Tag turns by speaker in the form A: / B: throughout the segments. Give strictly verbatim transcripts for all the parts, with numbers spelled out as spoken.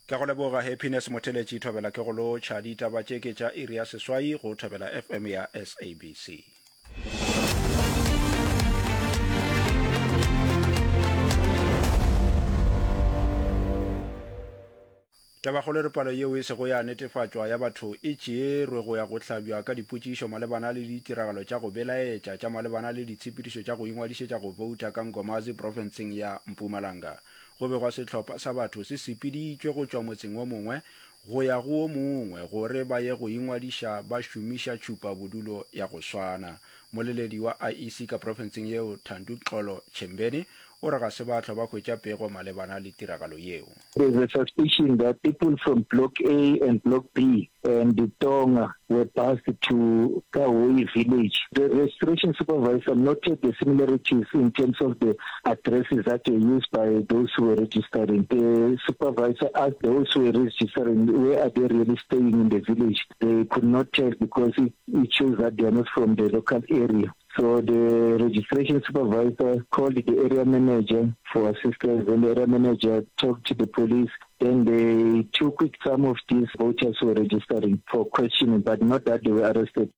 A: Ke a go leboga Happiness Motheletši Thobela ke go lotšha. Ditaba tše ke tša iri ya seswai go Thobela F M ya S A B C. Tabakgolo e re palo yeo e sego ya netefatšwa ya batho e tšeerwe go ya go hlabja ka dipotšišo malebana le ditiragalo tša go belaetša tša malebana le ditshepedišo tša go ingwadišetša go bouta ka Nkomazi profenseng ya Mpumalanga. Go begwa sehlopha sa batho se sepeditšwe go tšwa motseng wo mongwe go ya go wo mongwe gore ba ye go ingwadiša ba šomiša tšhupa bodulo ya go swana. Moleledi wa I E C ka profenseng yeo, Thanduxolo Tshembeni, o re ga se ba hlwa ba hwetša pego malebana le tiragalo yeo.
B: There's a suspicion that people from Block A and Block B and Tonga were bused to Kahoi village. The registration supervisor noted the similarities in terms of the addresses that were used by those who were registering. The supervisor asked those who were registering where are they really staying in the village. They could not tell because it, it shows that they are not from the local area. So the registration supervisor called the area manager for assistance, and the area manager talked to the police. Then they took some of these voters who were registering for questioning, but not that they were arrested.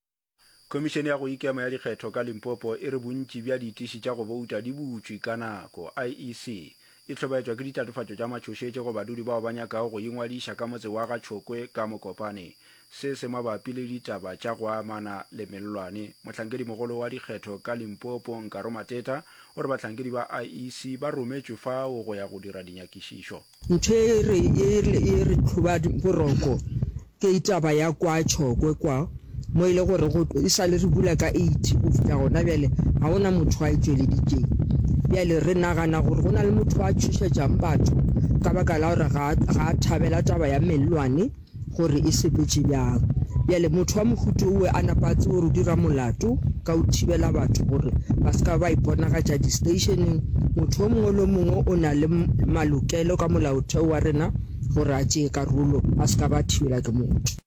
A: Khomišene ya go Ikema ya Dikgetho ka Limpopo e re bontši bja ditiši tša go bouta di butšwe ka nako. I E C e hlobaetšwa ke ditatofatšo tša matšhošetši go badudi bao ba nyakago go ingwadiša ka motse wa Ga-Tšhokwe ka Mokopane. Se se mabapi le ditaba tša go amana le mellwane. Mohlankedimogolo wa dikgetho ka Limpopo, Nkaro Mateta, o re bahlankedi ba I E C ba rometšwe fao go ya go dira dinyakišišo.
C: Ntho e re e e re tlhoba boroko ke taba ya kwa Tšhokwe kwa mo e le gore go e sa le re bula ka eight go fihla gona bjale ga gona motho a e tšweleditšeng. Bjale re nagana gore go na le motho a tšhošetšang batho ka baka la gore ga ga a thabela taba ya mellwane gore e sepetše bjang. Bjale motho wa mohuta owe a napa a tsebe gore o dira molato ka o thibela batho gore ba se ka ba iponagatša di-stationeng. Motho o mongwe le o mongwe o na le malokelo ka molaotheo wa rena gore a tšee karolo a se ka ba thibela ke motho.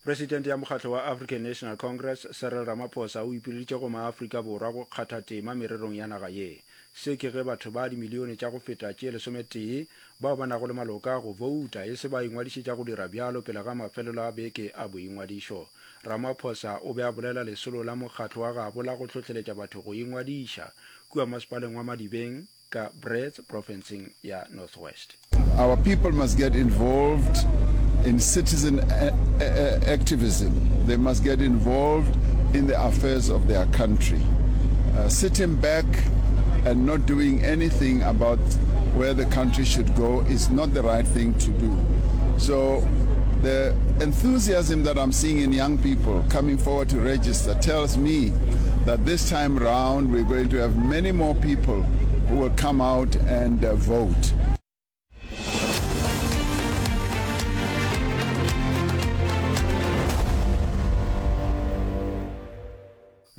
A: Presidente ya mokgatlo wa African National Congress, Cyril Ramaphosa, o ipileditše go maAfrika Borwa go kgatha tema mererong ya naga ye. Se ke ge batho ba dimilione tša go feta tše lesometee bao ba nago le maloka a go bouta e se ba ingwadišetša go dira bjalo pele ga mafelelo a beke a boingwadišo. Ramaphosa o be a bolela lesolo la mokgatlo wa gabo la go hlohleletša batho go ingwadiša kua masepaleng wa Madibeng ka Brits profenseng ya North West.
D: Our people must get involved in citizen activism. They must get involved in the affairs of their country. Uh, sitting back and not doing anything about where the country should go is not the right thing to do. So the enthusiasm that I'm seeing in young people coming forward to register tells me that this time round we're going to have many more people who will come out and uh, vote.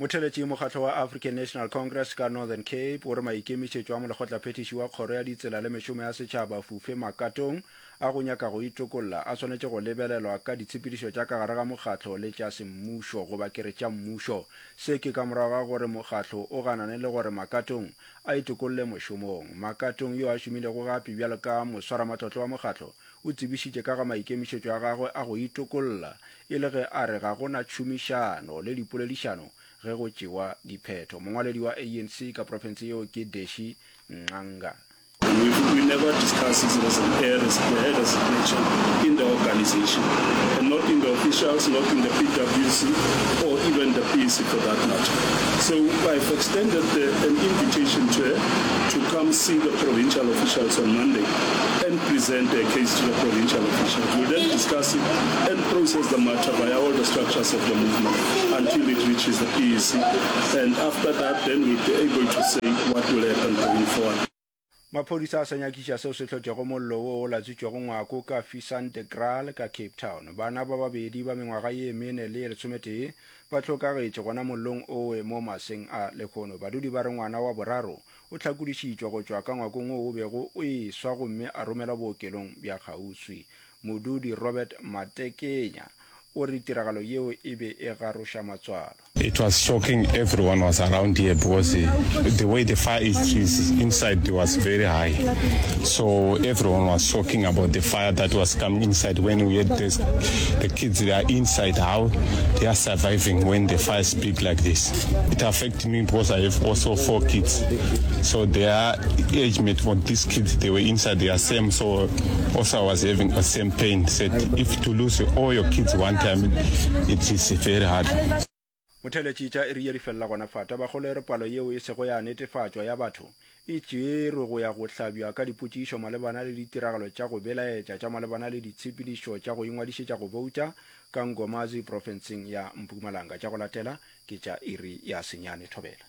A: Motheletši mokgatlo wa African National Congress ka Northern Cape o re maikemišetšo a molekgotlaphethiši wa kgoro ya ditsela le mešomo ya setšhaba Fufe Makatong a go nyaka go itokolla a swanetše go lebelelwa ka ditshepedišo tša ka gare ga mokgatlo le tša semmušo goba ke re tša mmušo. Se ke ka morago ga gore mokgatlo o ganane le gore Makatong a itokolle mošomong. Makatong yo a šomilego gape bjalo ka moswaramatlotlo wa mokgatlo o tsebišitše ka ga maikemišetšo a gagwe a go itokolla e le ge a re ga go na tšhomišano le dipoledišano ge go tšewa diphetho. Mongwaledi wa A N C ka profense yeo ke Deshi Nqanga.
E: We, we never discuss his resi- her, res- her resignation in the organization, and not in the officials, not in the P W C, or even the P C for that matter. So I've extended the, an invitation to her to come see the provincial officials on Monday and present their case to the provincial officials. We'll then discuss it and process the matter via all the structures of the movement until it reaches the P E C. And after that, then we'll be able to say what will happen going forward.
A: Maphodisa a sa nyakiša seo se hlotšego mollo wo o latswitšego ngwako ka Fisantekraal ka Cape Town. Bana ba babedi ba mengwaga ye mene le ye lesometee ba hlokagetše gona mollong owe mo maseng a lehono. Badudi ba re ngwana wa boraro o hlakodišitšwe go tšwa ka ngwakong wo o bego o eswa gomme a romelwa bookelong bja kgauswi. Modudi Robert Matekenya o re tiragalo yeo e be e garoša matswalo.
F: It was shocking, everyone was around here because the way the fire is, is inside was very high. So everyone was shocking about the fire that was coming inside when we had this, the kids they are inside, how they are surviving when the fire is big like this. It affected me because I have also four kids. So their age mate for these kids, they were inside, they are same. So also I was having the same pain. Said if to lose all your kids one time, it is very hard.
A: Motheeletši tša iri ye di felela gona fa. Tabakgolo e re palo yeo e sego ya netefatšwa ya batho e tšerwe go ya go hlabja ka dipotšišo malebana le ditiragalo tša go belaetša tša malebana le ditshepedišo tša go ingwadišetša go bouta ka Nkomazi profenseng ya Mpumalanga. Tša go latela ke tša iri ya senyane. Thobela.